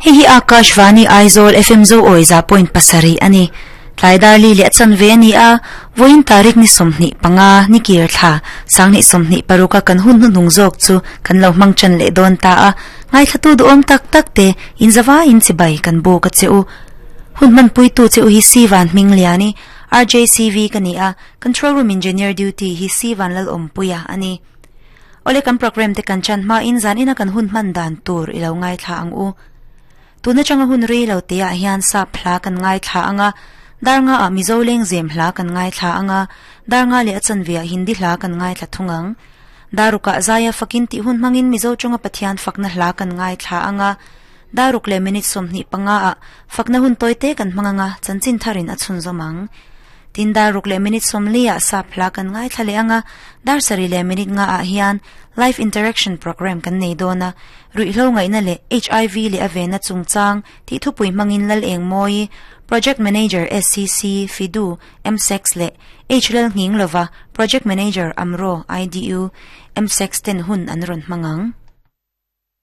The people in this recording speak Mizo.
Hei hi Akashvani Aizawl FM Zoawi 100.7 a ni. Tlai dar li leh a chanve a ni a, vawiin tarik ni 25 ni kir thla sanghnih 26 a kan hun hnuhnung zawk chu kan lo hmang tan leh dawn ta a, ngaithlatu duhawm tak tak te inzavaiin chibai kan buk a che u. Hun hmanpuitu che u hi Sivan Hmingliani, RJCV ka ni a, Control Room Engineer Duty hi Sivan Lalawmpuia a ni. Awle kan programme te kan chan hmain zan ina kan hun hman dan tur i lo ngaithla ang u. Tun atanga hun rei lo te ah hian sap hla kan ngaithla ang a, dar nga ah Mizo lengzem hla kan ngaithla ang a, dar nga leh a chanve ah Hindi hla kan ngaithla thung ang. Daruk ah Zaia fakin tih hun hmangin Mizo tawnga Pathian fakna hla kan ngaithla ang a, daruk leh minute 25 ah fakna hun tawi te kan hmang ang a, chanchin tharin a chhunzawm ang. Tin dar ruk leh minute 40 ah sap hla kan ngaithla leh ang a, dar sarih leh minute nga ah hian Life Interaction Programme kan nei dawn a, ruihhlo ngaihna leh HIV leh a vena chungchang tih thupui hmangin Lal Engmawi, Project Manager SCC, Fidu, MSEX leh H Lal Nghing Lova, Project Manager AMRO, IDU, MSEX ten hun an rawn hmang ang.